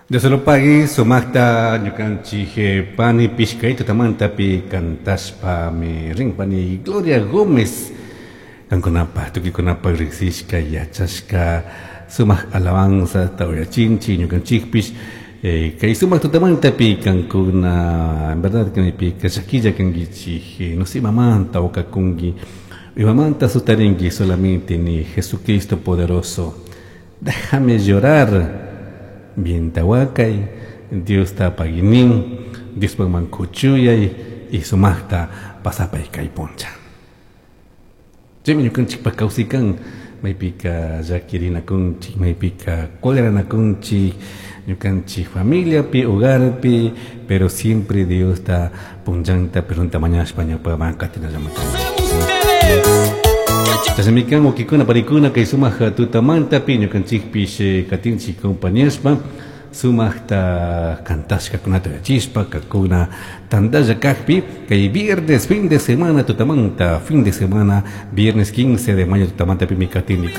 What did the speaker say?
Dios lo pague, sumaqta ñukanchik pani pishkay tutamantapi cantashpami rin pani Gloria Gómez kankunapaj tukuykunapaj riqsishka yachashka sumaq alabanza uyachinchik ñukanchikpish kay sumaq tutamantapi kankuna en verdad kaypika llakilla kankichik no sé imamanta wakakunki imamanta sutarinki solamente ni Jesucristo poderoso déjame llorar bienta wakay Diosta paginin Diospakman kuchuyay y sumaqta pasapay kay puncha. Chaymi ñukanchikpak kawsaykan maypika llakirinakunchik maypika coleranakunchik ñukanchik familiapi hogarpi pero siempre Diosta punllanta perdonta mañashpa ñawpaman katinallaman Chashnami kan wawkikuna panikuna kay sumaq tutamantapi ñukanchikpish katinchik compañashpa sumaqta cantashkakunata uyachishpa kakuna tantalla kakpi kay viernes fin de semana tutamanta fin de semana viernes 15 de mayo tutamantapimi katinikun.